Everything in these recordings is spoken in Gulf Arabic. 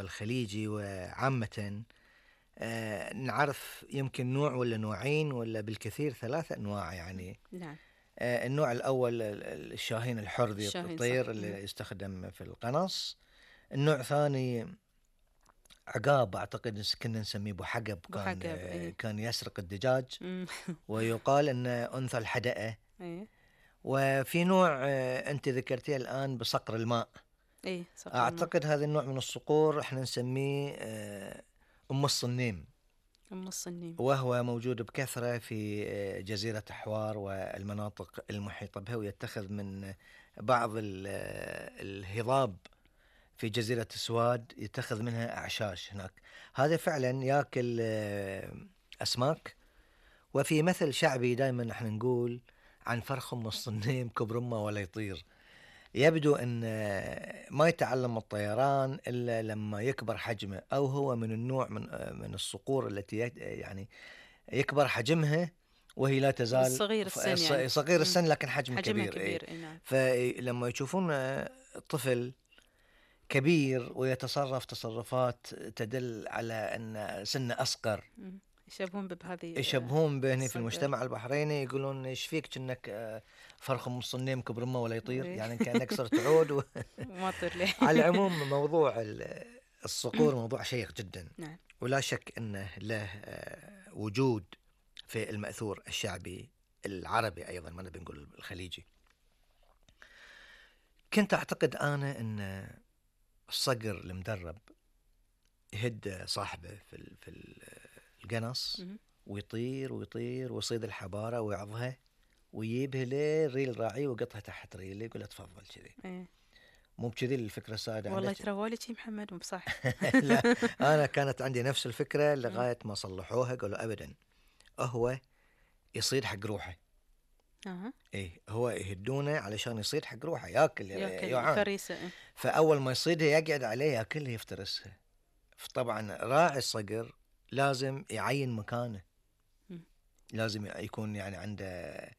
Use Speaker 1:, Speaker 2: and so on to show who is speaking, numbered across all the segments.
Speaker 1: الخليجي وعامة نعرف يمكن نوع ولا نوعين ولا بالكثير 3 أنواع يعني.
Speaker 2: نعم.
Speaker 1: النوع الأول الشاهين الحر ذي الطير اللي يستخدم في القنص. النوع الثاني عقاب، أعتقد كنا نسميه بوحقب، كان يسرق الدجاج ويقال أن أنثى الحدقة. وفي نوع أنت ذكرتيه الآن بصقر الماء. أعتقد هذا النوع من الصقور احنا نسميه أم الصنيم. وهو موجود بكثرة في جزيرة حوار والمناطق المحيطة بها، ويتخذ من بعض الهضاب في جزيرة سواد يتخذ منها أعشاش هناك. هذا فعلا يأكل أسماك. وفي مثل شعبي دائما نحن نقول عن فرخ أم الصنيم كبر أمه ولا يطير. يبدو أن ما يتعلم الطيران إلا لما يكبر حجمه، أو هو من النوع من الصقور التي يعني يكبر حجمها وهي لا تزال صغير السن لكن حجمه كبير. فلما يشوفون طفل كبير ويتصرف تصرفات تدل على أن سنه أصغر، يشبهون به في المجتمع البحريني، يقولون ايش فيك كأنك فرخ أم الصنيم كبر أمه ولا يطير، يعني كأنك صرت عود
Speaker 2: ما طير ليه.
Speaker 1: على العموم موضوع الصقور موضوع شيق جدا. ولا شك أنه له وجود في المأثور الشعبي العربي أيضا، ما نبي نقول الخليجي. كنت أعتقد أنا أن الصقر المدرب يهد صاحبه في القنص ويطير ويصيد الحبارة ويعضها ويجيبها لريل راعي وقطها تحت ريله، يقول تفضل كذي. مو بكذي الفكرة السادة؟
Speaker 2: والله ترى شي محمد مو بصح.
Speaker 1: لا، أنا كانت عندي نفس الفكرة لغاية ما صلحوها، قالوا أبدا هو يصيد حق روحه. إيه، هو يهدونه علشان يصيد حق روحه، ياكل
Speaker 2: فريسة.
Speaker 1: فأول ما يصيدها يقعد عليه ياكلها يفترسها. طبعا راعي الصقر لازم يعين مكانه، لازم يكون يعني عنده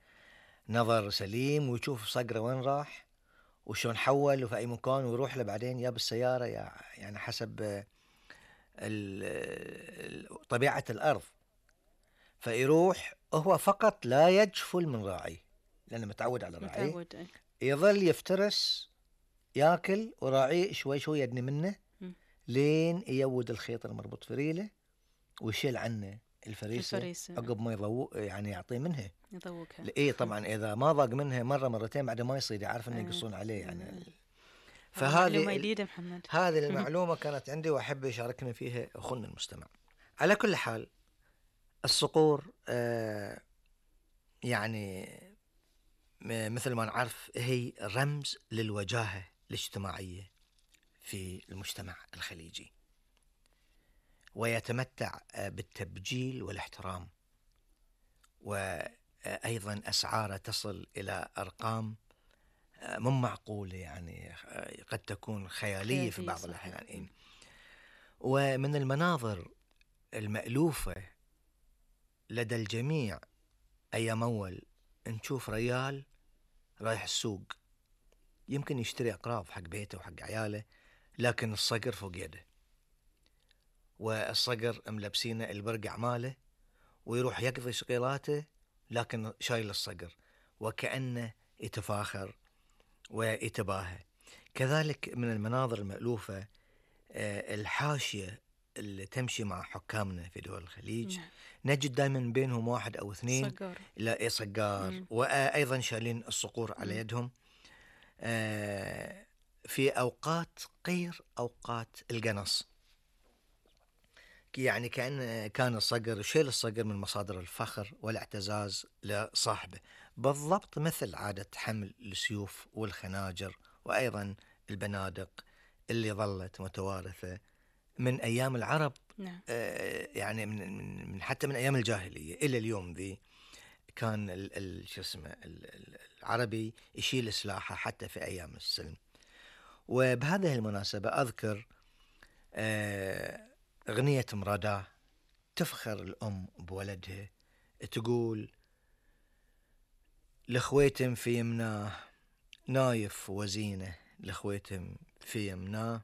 Speaker 1: نظر سليم ويشوف صقره وين راح وشون حول وفي أي مكان ويروح له بعدين، يا بالسيارة يعني حسب طبيعة الأرض. فيروح هو فقط لا يجفل من راعي لأنه متعود على راعي، يظل يفترس ياكل وراعي شوي شوي يدني منه لين يود الخيط المربوط في ريله ويشيل عنه الفريسة عقب ما يضوق، يعني يعطيه منها
Speaker 2: يضوقها.
Speaker 1: إيه طبعا إذا ما ضاق منها مرة مرتين بعد ما يصيد يعرف إنه يقصون عليه يعني.
Speaker 2: فهذه
Speaker 1: هذه المعلومة كانت عندي وأحب يشاركني فيها أخونا المستمع. على كل حال الصقور يعني مثل ما نعرف هي رمز للوجاهة الاجتماعية في المجتمع الخليجي، ويتمتع بالتبجيل والاحترام، وأيضا أسعاره تصل إلى أرقام مو معقولة، يعني قد تكون خيالية في بعض الأحيان. ومن المناظر المألوفة لدى الجميع أيام أول نشوف ريال رايح السوق يمكن يشتري أقراض حق بيته وحق عياله، لكن الصقر فوق يده، والصقر ملبسينه البرقع ماله ويروح يقضي شغيلاته لكن شايل الصقر وكأنه يتفاخر ويتباهى. كذلك من المناظر المألوفة الحاشية اللي تمشي مع حكامنا في دول الخليج. نجد دائما بينهم 1 أو 2 صقار وأيضا شايلين الصقور على يدهم في أوقات غير أوقات القنص. يعني كان الصقر شيل الصقر من مصادر الفخر والاعتزاز لصاحبه، بالضبط مثل عادة حمل السيوف والخناجر وأيضا البنادق اللي ظلت متوارثة من أيام العرب. يعني من حتى من أيام الجاهلية إلى اليوم ذي كان العربي يشيل سلاحه حتى في أيام السلم. وبهذه المناسبة أذكر أغنية مراداه تفخر الأم بولدها، تقول لخويتم في يمناه نايف وزينه، لخويتم في يمناه